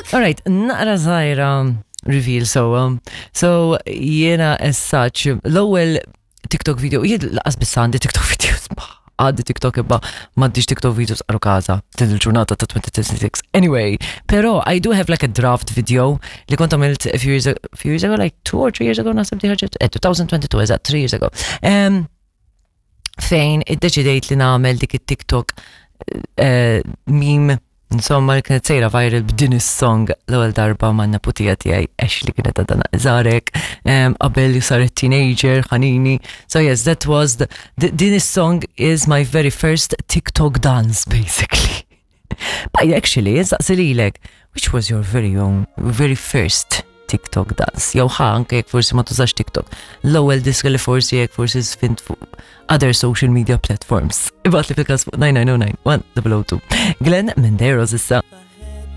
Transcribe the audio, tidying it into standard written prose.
Alright, naqra żgħira reveal so um, so jiena as such l-ewwel TikTok video, jien laqas biss għandi TikTok videos, għandi TikTok imma m'għandix TikTok videos għaru kaza din il-ġurnata ta' 2026. Anyway, pero I do have like a draft video li kont għamilt a few years, few years ago, like two or three years ago, naħseb di ħarġet, eh, 2022, eżatt, three years ago. Um, fejn iddeċidejt li nagħmel dik it-TikTok eh, meme Insomma, li kienet sejra viral b'din is-song l-ewwel darba ma' neputija tiegħi Ashley kienet għadha żarek qabel li saret teenager ħanini. So yes, that was the, din is-song is my very first TikTok dance basically. But actually, saqsi lilek, which was your very own, very first TikTok dance, jew ħa anke jekk forsi ma tużax TikTok. L-ewwel diska li forsi jekk forsi sfint fuq other social media platforms. Ibgħat li fil-każ fuq 9909 1002. Glenn Menderos issa.